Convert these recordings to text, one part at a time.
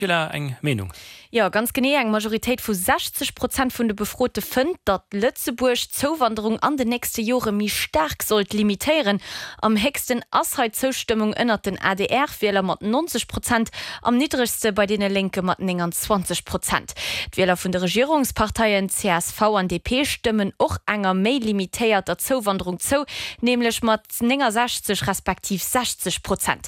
Wieler eng Meenung. Jo, ganz genee. Eng Majoritéit vu 60 Prozent vun de Befrote fënnt, datt Lëtzebuerg d'Zouwanderung an den nächste Jore méi staark sollt limitéieren. Am héchsten ass hei d'Zoustëmmung ënnert den ADR-Wieler mat 90 Prozent, am niddregste bei deene Lénke mat 29 Prozent. D'Wieler vun de Regierungsparteien csv an DP stëmmen och enger méi limitéierter Zouwanderung zou, nämlech mat 69 respektiv 60 Prozent.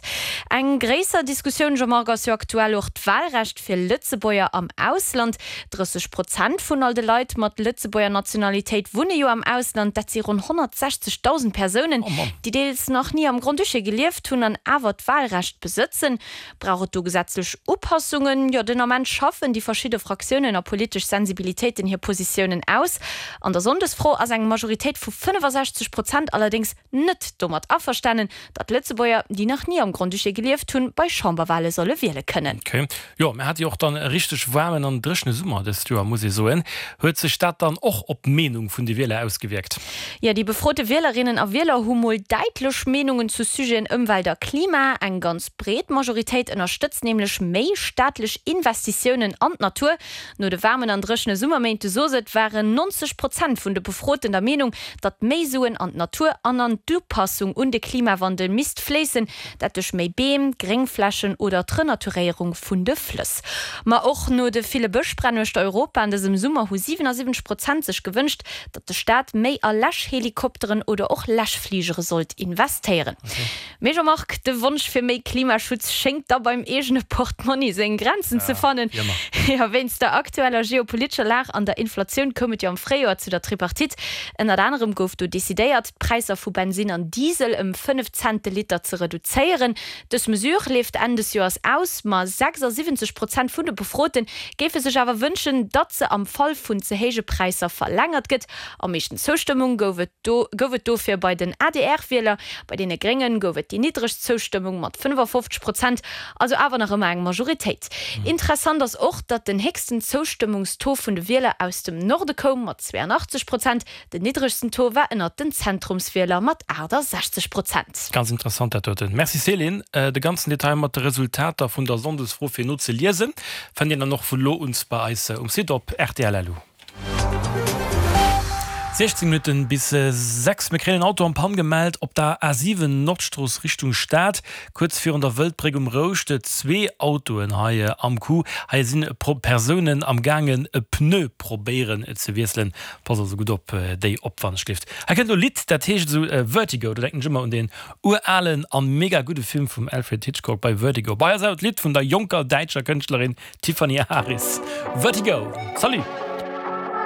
Eng gréisser Diskussioun, Jean-Marc, ass jo aktuell och d'Wahlrecht fir Lëtzebuerger am Ausland. 30 Prozent vun all de Leit mat Lëtzebuerger Nationalitéit wunne jo am Ausland. Dat si ronn 160.000 Persounen, déi deels nach ni am Grand-Duché gelieft hunn an awer d'Wahlrecht besëtzen. Brauch et do gesetzlech Upassungen? Jo, den Ament schaffen déi verschidde Fraktiounen a politesch Sensibilitéiten hir Positiounen aus. An der Sonndesfro ass eng Majoritéit vu 65 Prozent allerdéngs net domat averstanen, datt Lëtzebuerger, déi nach ni am Grand-Duché gelieft hunn, bei Chamberwale solle wiele kënnen. Ok. Jo, mir hate jo och dann e richteg waarmen an dréchene Summer dëst Joer, muss ee soen. Huet sech dat dann och op d'Meenung vun de Wieler ausgewierkt? Jo, déi befrote Wielerinnen a Wieler hu mol däitlech Meenungen zu Sujeten Ëmwelt a Klima. Eng ganz breet Majoritéit ënnerstëtzt nämlech méi staatlech Investitiounen an d'Natur. No de waarmen an dréchene Summerméint, du sos et, waren 90 Prozent vun de Befroten der Meenung, datt méi Suen an d'Natur an an d'Upassung un de Klimawandel misst fléissen, dat duerch méi Beem, Gréngflächen oder d'Renaturéierung vun de Flëss. Ma och no de ville Bëschbränn uechter Europa an dësem Summer hu 77 Prozent sech gewënscht, datt de Staat méi a Läschhelikopteren oder och Läschfligere sollt investéieren. Mee Jean-Marc, de Wonsch fir méi Klimaschutz schéngt da beim eegene Portmonni seng Grenzen ze fannen. Jo, wéinst der aktueller geopolitescher Lag an der Inflatioun koum et jo am Fréijoer zu der Tripartite. Ënnert anerem gouf do decidéiert, d'Präisser vu Bensinn an Diesel ëm 5 Cent de Liter ze reduzéieren. Dës Mesure leeft Enn des Joers aus, ma 76 Prozent vun de Befrote géife sech awer wënschen, datt se am Fall vun ze héije Präisser verlängert gëtt. Am meeschten Zoustëmmung gouf et do gouf et dofir bei den ADR-Wieler. Bei deene Gréngen gouf et déi niddregst Zoustëmmung mat 55 Prozent, also awer nach ëmmer eng Majoritéit. Interessant ass och, datt den héchsten Zoustëmmungstaux vun de Wieler aus dem Norde koum mat 82 Prozent, Den niddregsten Taux war ënnert den Zentrumswieler mat 68 Prozent. Ganz interessant dat doten. Merci Céline. De ganzen Detail mat de Resultater vun der Sonndesfro fir nozeliesen fënnt een dann och vu lo uns bei eis um Site op rtl.lu. 16 Minutten bis 6, Mir kréien en Auto en Panne gemellt op der A7 Nordstrooss Richtung Stad, kuerz virun der Wëldbréck um Rouscht. Zwee Autoen hei am Coup. Hei sinn Persounen am gaangen e Pneu probéieren ze wiesselen. Pass also gutt op déi op wann ech gelift. Hei kënnt elo e Lidd dat heescht esou Vertigo. Do denken ech ëmmer un deen uralen an mega gudde Film vum Alfred Hitchcock bei Vertigo. Bei ass awer d'Lidd vun der jonker däitscher Kënschtlerin Tiffany Aris, Vertigo. Salut!